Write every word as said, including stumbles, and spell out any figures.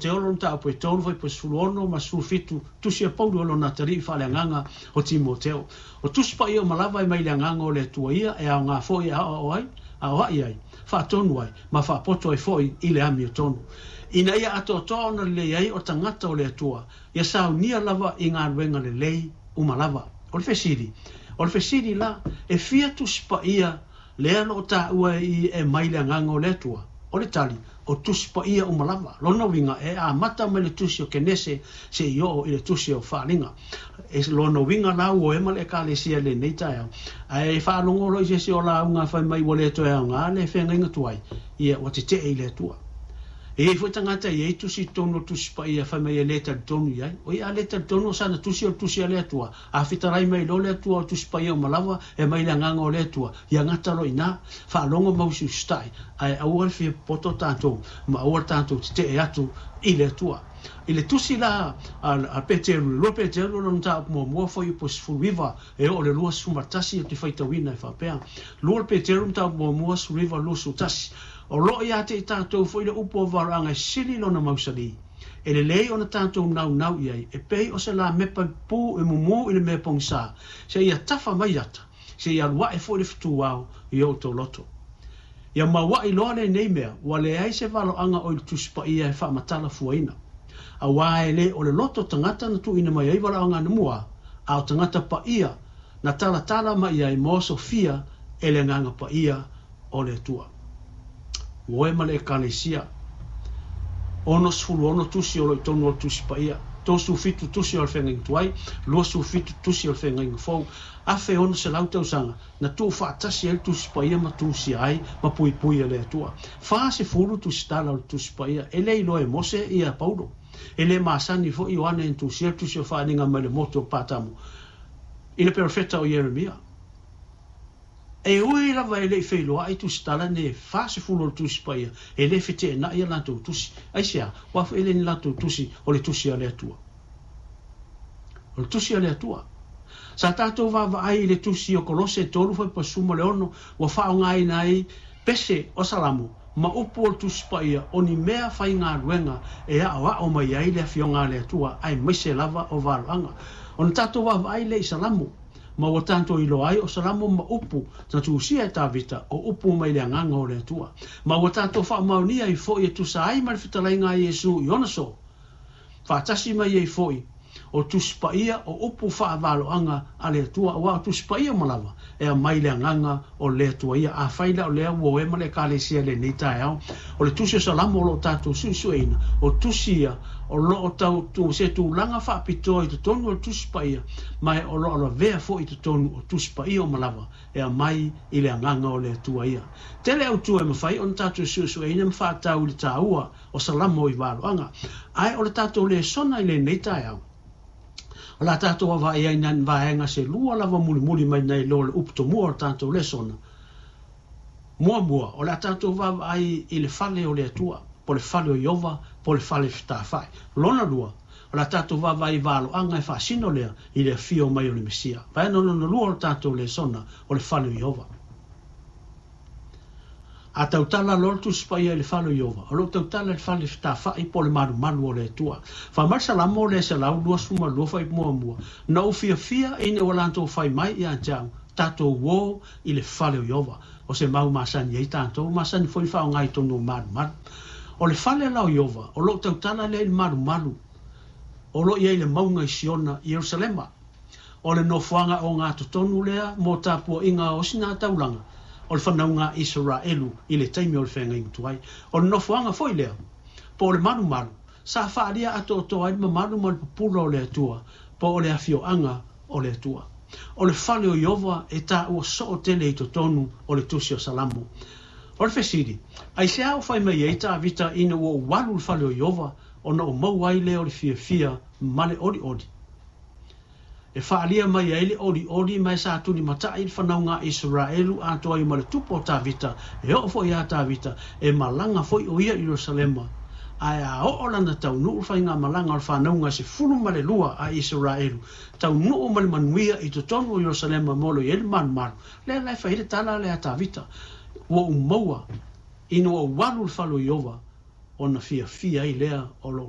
Timoteo lona mataupu e tolu fuaiupu e sefulu ono ma sefulu fitu, tusi a Paulo i lona atalii faaleagaga o Timoteo. O Tusi Paia uma lava e mai le Agaga o le Atua ia, e aoga foi e aoao ai, aoai ai, faatonu ai, ma faapoto ai foi i le amiotonu, ina ia atoatoa ona lelei ai o tagata o le Atua, ia saunia lava i galuega lelei uma lava. O le fesili, o le fesili la, e fia Tusi Paia lea o lo o taua i e mai le Agaga o le Atua? O le tali, o Tusi Paia uma lava. Lona uiga, e amata mai le tusi o Kenese seia oo i le tusi o Faaaliga. E lona uiga la ua ema le Ekalesia i lenei taeao, ae faalogo loa i se isi o lauga fai mai ua le toe aoga le feagaiga tuai, ia ua tetee i le Atua. E i ai foi tagata e i ai tusi i totonu o Tusi Paia fai mai e le talitonu i ai. Oi, a le talitonu o sana tusi o le tusi a le Atua, a fetalai mai loa le Atua o Tusi Paia uma lava e mai le Agaga o le Atua, ia gata loa i ina, faalogo ma usiusitai, ae aua le fia popoto tatou ma aua le tatou tetee atu i le Atua. I le tusi la a Peteru, le lua Peteru lona mataupu muamua fuaiupu e sefulu iva e oo i le luasefulu ma tasi ou te faitauina e faapea, lua Peteru mataupu muamua sefulu iva luasefulu tasi, o lo o ia te i tatou foi le upu o valoaga e sili lona mausali, e lelei ona tatou naunau i ai, e pei o se lamepa pupū e mumu i le mea pogisa, seia tafa mai ata, seia alu ae foi le fetuao i o outou loto. Ia maua'i loa lenei mea, ua leai se valoaga o i le Tusi Paia e faamatala fuaina. Auā e le o le loto tagata na tuuina mai ai valaauga anamua, a o tagata paia na talatala mai ai ma osofia e le Agaga Paia o le Atua. Ua e ma le Ekalesia, onosefulu ono tusi o lo o i totonu o le Tusi Paia, tolusefulu fitu tusi o le Feagaiga Tuai, luasefulu fitu tusi o le Feagaiga Fou, afe ono selau tausaga na tuufaatasi ai le Tusi Paia ma tusia ai ma puipui e le Atua. Fasefulu tusitala o le Tusi Paia, e le iloa e Mose ia Paulo. E le masani foi Ioane na tusia le tusi o Faaaliga mai le motu o Patamo i le perofeta o Ieremia. E ui lava e le i feiloai tusitala nei e fasefulu o le Tusi Paia, e le feteenai a latou tusi. Aisea? Aua foi e le ni latou tusi, o le tusi a le Atua. O le tusi a le Atua. Sa tatou vaavaai i le tusi o Kolose tolu fuaiupu sefulu ma le ono, ua faaaogaina ai pese o Salamo ma upu o le Tusi Paia o ni mea faigaluega e aoao mai ai le Afioga a le Atua aemaise lava o valoaga. Ona tatou vaavaai lea i Salamo, ma ua tatou iloa ai o Salamo ma upu na tusia e Tavita o upu mai le Agaga o le Atua. Ma ua tatou faamaonia ai foi e tusa ai ma le fetalaiga a Iesu i ona so faatasi mai ai foi o Tusi Paia o upu faavaloaga a le Atua, aua o Tusi Paia uma lava e aumai le Agaga o le Atua ia. Afai la o lea ua oe ma le Ekalesia i lenei taeao, o le tusi o Salamo o lo o tatou suesueina, o tusi ia o lo o tau se tulaga faapitoa i totonu o le Tusi Paia, ma o lo o lavea foi i totonu o Tusi Paia uma lava e aumai i le Agaga o le Atua ia. Tele autu e mafai ona tatou suesueina ma faatau i le taua o Salamo i valoaga, ae o le tatou lesona i lenei taeao, o la tatou vaavaai ai nai vaega se lua lava mulimuli mai nai lo le upu tomua o le tatou lesona. Muamua, o le a tatou vaavaai i le fale o le Atua, po le fale o Ieova, po le fale fetafai. Lona lua, o le a tatou vaavaai i valoaga e faasino lea i le afio mai o le Mesia. Vaega lona lua o le tatou lesona, o le fale o Ieova. A tautala loa le Tusi Paia i le fale o Ieova, o lo o tautala i le fale fetafai po o le malumalu o le Atua. Fai mai le Salamo lea selau luasefulu ma lua fuaiupu muamua, na ou fiafia ina ua latou fai mai ia te au, tatou o i le fale o Ieova. O se mau masani ai tatou, masani foi faaaoga i totonu o malumalu. O le fale la o Ieova, o lo o tautala lea i le malumalu o lo o i ai le mauga i Siona i Ierusalema. O le nofoaga ogatotonu lea mo tapuaiga o osigātaulaga o le fanauga a Isaraelu i le taimi o le feagaiga tuai. O le nofoaga foi lea, po o le malumalu, sa faaalia atoatoa ai le mamalu ma le pupula o le Atua, po o le afioaga o le Atua. O le fale o Ieova e taua soo tele i totonu o le tusi o Salamo. O le fesili, aisea ua fai mai ai Tavita ina ua ou alu i le fale o Ieova ona ou maua ai lea o le fiafia ma le olioli? E faaalia mai ai le olioli ma e sa tulimatai le fanauga a Isaraelu atoa ai ma le tupu o Tavita, e oo foi iā Tavita, e malaga foi o ia i Ierusalema. Ae a oo lana taunuu le faigamalaga o le fanauga e sefulu ma le lua a Isaraelu, taunuu ma le manuia i totonu o Ierusalema ma o lo o i ai le malumalu, lea la e fai ai le tala lea a Tavita, ua ou maua ina ua ou alu i le fale o Ieova ona fiafia ai lea o lou